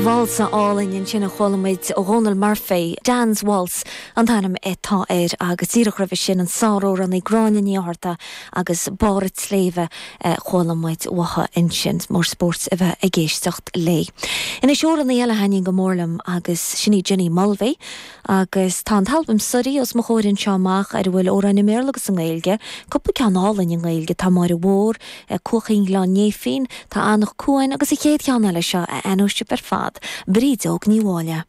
Válsa álainn ansin a chuala muid ó Dhónal Murphy, Dan's Waltz an t-ainm atá air agus díreach roimhe sin an sáramhránaí Gráinne Ní Fhátharta agus Barr an tSléibhe a chuala muid uaithi ansin. Mór spóirt a bheith ag éisteacht léi. Anois amhránaí eile a thaitníonn go mór liom agus sin í Jenny Mulvey Agus tá an t-albam Suirí os mo chomhair anseo amach ar a bhfuil amhráin i mBéarla agus i nGaeilge, cúpla ceann álainn i nGaeilge, tá Máire Mhór, Cuachaín Ghleann Néifinn, tá Eanach Cuain agus an chéad cheann eile seo a aithneoidh sibh ar fad, Brídeog Ní Mháille.